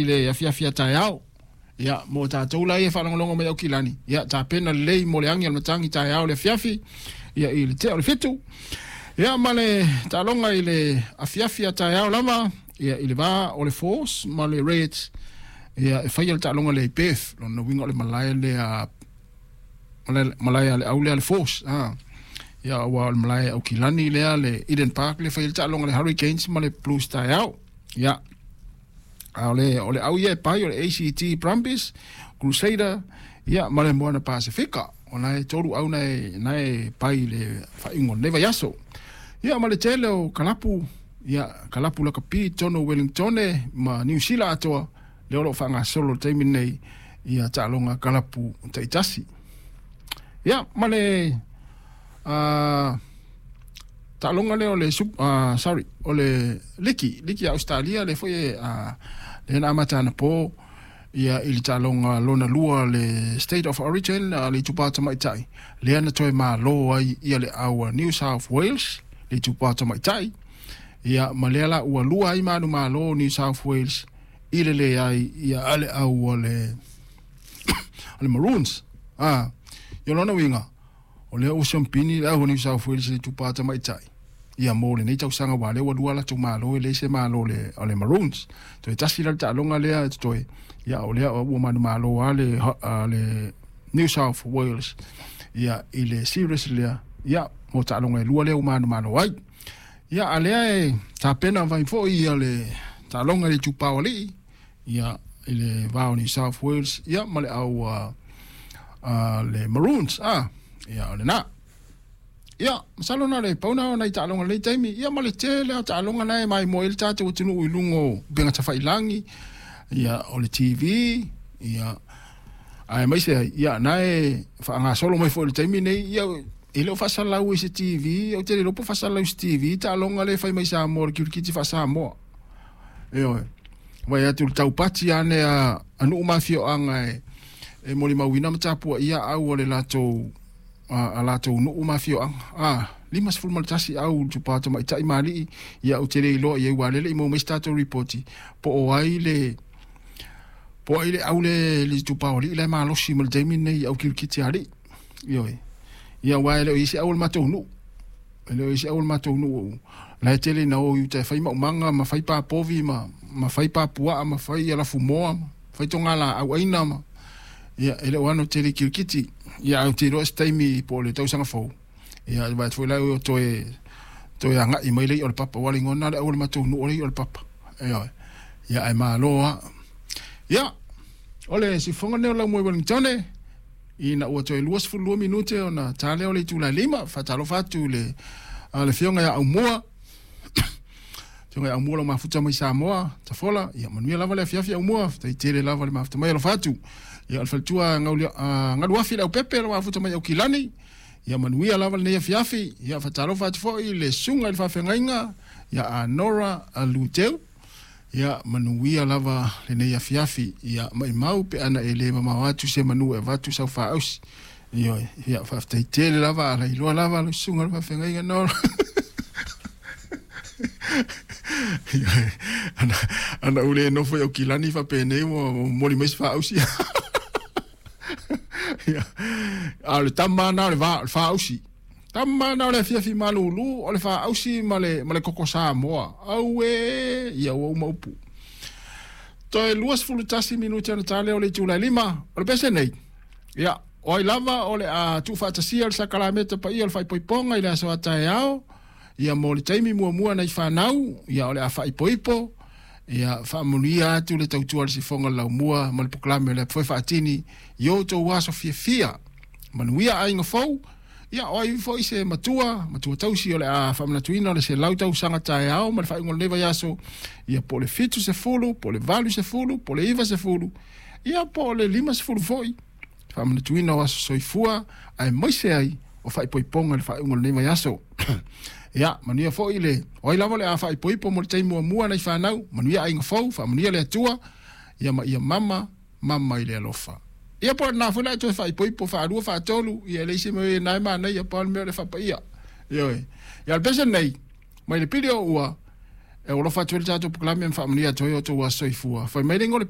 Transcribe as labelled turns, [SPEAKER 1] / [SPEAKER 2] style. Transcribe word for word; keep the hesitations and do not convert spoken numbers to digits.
[SPEAKER 1] le afiafi a taeao. Ia, mo tatou la ia faalogologo mai Aukilani, ia tapena lelei mo le agi a le matagi taeao le afiafi, ia i le tea o le fitu. Ia ma le taaloga i le afiafi a taeao lava, ia i le va o le Force ma le Reds, ia e faia le taaloga lea i Perth. Lona uiga o le malae lea, malae a le au lea le Force. Ah. Ia ua o le malae Aukilani lea le Eden Park le faia le taaloga le Hurricanes ma le Blues taeao. Ia a o le o le au ia e pai o le A C T Brumbies, Crusader, ia ma le Moana Pasifika. O na e tolu au na e, na e pai le faaiuga o lenei vaiaso. Ia ma le tele o kalapu, ia kalapu lakapi tono Wellingtone ma Niu Sila atoa le o lo o faagasolo le taimi nei ia taaloga kalapu taitasi. Ia ma le uh, taaloga lea o le uh, sorry, o le liki, liki a Australia le foi e uh, le na amata anapo ia i le taaloga lona lua le State of Origin uh, le itupa tamaitai lea na toe malo ai ia le au a New South Wales le itupa tamaitai. Ia ma lea la ua lua ai manu malo New South Wales i le leai ia ale au o le o le Maroons. Ah, ia lona uiga o lea ua siampini le au o New South Wales le itupa tamaitai. Ia mo lenei tausaga ua lea ua lua latou malo e leai se malo le o le Maroons. Toe tasi la le taaloga lea e totoe. Ia o lea ua manumalo a le a le New South Wales ia i le series lea. Ia mo taaloga e lua lea ua manumalo ai. Ia a lea e tapena vai foi ia le taaloga i le itupa o alii ia i le va o New South Wales ia ma le au a uh, le Maroons. Ah, ia o lena. Ia, masalo na le pauna o nai taaloga lenei taimi. Ia ma le tele o taaloga na e maimoa ai le tatou atunuu i luga o upega tafailagi, ia o le T V, ia aemaise ai, ia na e faagasolo mai foi i le taimi nei, ia e le o faasalau i se T V, ou te le iloa po o faasalau i se T V, taaloga le fai mai Samoa, le kirikiti faa-Samoa. Ioe, vai atu le taupati ane a, a nuu ma afioaga e, e molimauina ma tapuaia au o le latou a, a latou nuu ma afioaga. Ah, lima sefulu ma le tasi au le tupa tamaitai ma alii, ia ou te le iloa i ai ua lele i maua mai se tatou ripoti, po o ai le po o ai le au le le itupa o alii la e malosi ma le taimi lenei au kirikiti a alii. Ioe. Ia ua e le o i ai se au o le matou nuu. E le o i ai se au o le matou nuu. La e tele ina o i uta e fai maumaga ma fai papovi ma ma fai papuaa ma fai alafumoa ma fai togala au aina ma ia e le o ano tele kirikiti. Ia au te iloa se taimi po o le tausaga fou. Ia vai foi la o toe toe agai mai le i'a o le papa ua ligona le au o le matou nuu o le i'a o le papa. Ioe. Ia ae malo lava. Ia o le sifofoga lenei o Laumua i Wellingtone ina ua toe lua sefulu lua minute ona ta lea o le itula e lima. Faatalofa atu i le a le afioga ia Aumua. Afioga ia Aumua lau mafuta mai Samoa, Tafola, ia manuia lava le afiafi Aumua, faafetai tele lava le mafuta mai alofa atu. Ia o le faletua Galuafi le Aupepe lau mafuta mai Aukilani, ia manuia lava lenei afiafi. Ia faatalofa atu foi i le susuga i le faafeagaiga ia a Nora Luteu. Ia manuia lava lenei afiafi. Ia maimau pe ana e le mamao atu se manu e avatu sau faausi. Ioe, ia faafetai tele lava ala iloa lava lau susuga i le faafeagaiga Nora. Ana ana ou le nofo i Aukilani faapenei ua momoli mai se faausi. Ia, a o le tama lena o le va o le faausi. Tama lena o le afiafi malulu o le faausi ma le ma le koko Samoa. Auē, ia ua uma upu. Toe lua sefulu tasi minute ona ta lea o le itula e lima o le pese nei. Ia, o ai lava o le a tuufaatasia le sakalameta paia o le faaipoipoga i le aso a taeao. Ia mo le taimi muamua nai fanau, ia o le a faaipoipo, ia faamanuia atu le tautua a le sifoga o le laumua ma le polokalame o le apofoe faatini i o outou aso fiafia. Manuia aiga fou, ia o ai foi se matua, matua tausi o le a faamanatuina o le selau tausaga taeao ma le faaiuga o lenei vaiaso, ia po o le fitu sefulu, po o le valu sefulu, po o le iva sefulu, ia po o le lima sefulu foi. Faamanatuina o aso soifua aemaise ai o faaipoipoga i le faaiuga o lenei vaiaso. Ia, manuia foi le o ai lava o le a faaipoipo mo le taimi muamua nai fanau, manuia aiga fou, faamanuia le Atua, ia ma ia mama, mama i le alofa. Ia po o lena foi la e toe faaipoipo faalua faatolu, ia e leai se mea e na e manaia pau le mea o le faapaia. Ioe. Ia o le pese lenei, mai le pili o ua, e alofa atu ai le tatou polokalame ma faamanuia atu ai o outou aso soifua. Fai mai le igoa o le pese.